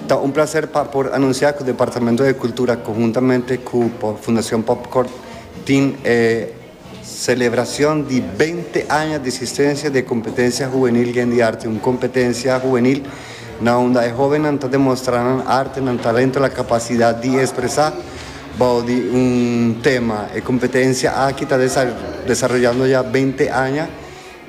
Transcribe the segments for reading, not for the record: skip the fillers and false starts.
Ta un plaser pa por anunsiá ku Departamento di Kultura konhuntamente ku Fundashon Popcorn tin e selebrashon di 20 aña di eksistensia di e kompetensia hubenil Gen di Arte, un kompetensia hubenil na unda e hóbennan ta demostrá nan arte, nan talento, la kapasidat di ekspresá bou di un tema. E kompetensia aki ta desaroyando ya 20 aña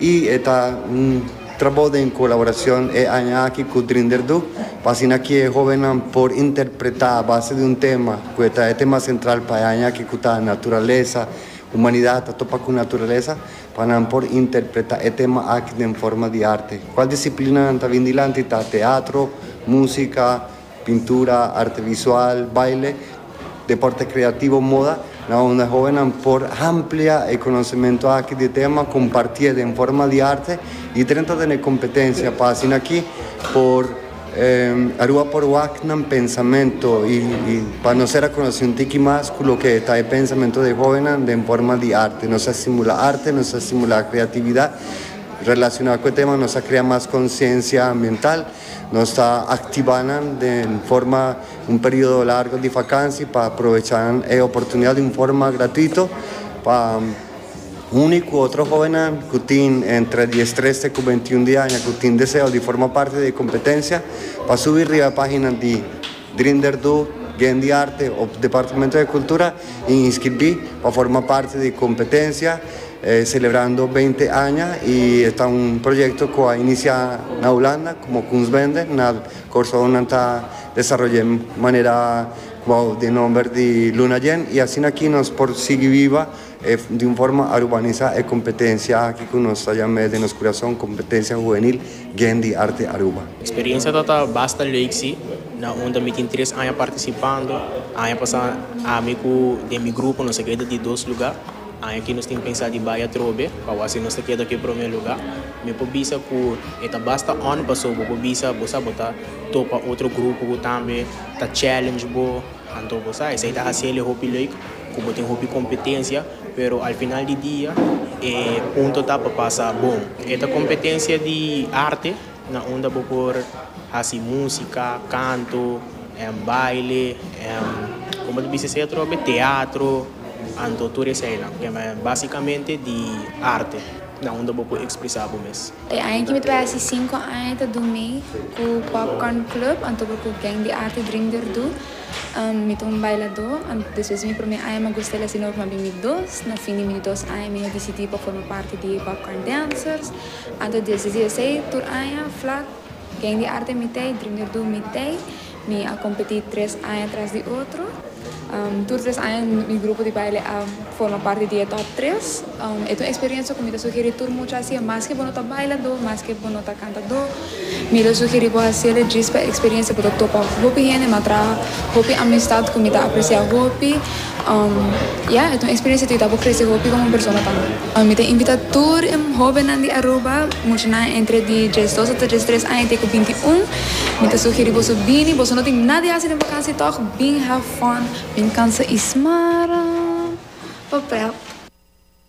i e ta un trabou den kolaborashon e aña aki ku Drinderdu pa asina ki e hóbennan por interpretá a base di un tema ku e ta e tema sentral pa e aña aki ku ta naturalesa, humanidat ta topa ku naturalesa, pa nan por interpretá e tema aki den forma di arte. Kual disiplinanan ta bin dilanti ta teatro, músika, pintura, arte visual, baile, deporte kreativo, moda, na unda e hóbennan por amplia e konosementu aki di e tema, kompartié den forma di arte i drenta den e kompetensia pa asina aki por Aruba por wak nan pensamentu i pa nos ser a konosé un tiki mas ku loke ta e pensamentu di e hóbennan den forma di arte. Nos a stimulá arte, nos a stimulá kreatividat relashoná ku e tema, nos a krea mas konsiensia ambiental. Nos ta aktivá nan den forma un periodo largo di vakansi pa aprovechá nan e oportunidat di un forma gratuito pa uni ku otro hóbennan ku tin entre diestres te ku beintiun di aña ku tin deseo di forma parti di e kompetensia pa subi riba e página di Drinderdu, Gen di Arte o Departamento di Kultura i inskribí pa forma parti di e kompetensia. Celebrando 20 aña y e ta un proyecto cu a inicia na Hulanda como Kunstbende, na Corsou nan ta desaroya manera bou di nomber di Luna Yen y asina aki nos por sigui biba di un forma arubanisa e competencia aki cu nos ta yama den nos curason Competencia Juvenil Gen di Arte Aruba. Experiencia ta ta basta leuk si, na unda mi tin tres aña participando, aña pasa ami cu den mi grupo nos a keda di dos lugar. Aña aki nos tin pensa di bai atrobe pa wak si nos ta keda ku e promé lugá. Mi por bisa ku e ta basta on paso bo por bisa bo sa bo ta topa otro grupo ku tambe ta challenge bo. Anto bo sa esei ta hasi el e hopi leuk ku bo tin hopi kompetensia pero al final di dia e punto ta pa pasa bon. E ta kompetensia di arte na unda bo por hasi músika, kanto, baile, komo ta bisa esei atrobe? Teatro. Anto tur eseinan, basikamente di arte, na unda bo por ekspresá bo mes. E aña ki mi ta bai hasi sinku aña ta dumi ku Popcorn Club, anto por ku Gang di Arte Drink Derdu. Mi ta un bailadó, anto despues di mi promé aña mi a gusta el asina ora mi a bin mi dos. Na fin di mi di dos aña mi a disidí pa forma parti di Popcorn Dancers. Anto desde di esei tur aña flak Gang di Arte mi t'ei, Drink Derdu mi t'ei. Mi a kompetí tres aña tras di otro. Tur tres aña mi grupo di baile a forma parti di e top tres. E ta un eksperensia ku mi ta sugerí tur mucha hasié, maske bo no ta bailadó, maske bo no ta kantadó, mi ta sugerí bo hasié djis pa e eksperensia. Bo ta topa hopi hende, mi a traha hopi amistat ku mi ta apresiá hopi. Ya, e ta un eksperensia ku ta yuda bo krese hopi komo persona tambe. Mi ta invitá tur e hóbennan di Aruba, muchanan entre di diesdos ata diestres aña te ku 21. Mi ta sugerí boso bini, boso no tin nada di hasi den vakansi tòg, bin have fun, bin kansa i smara. Pa prèt.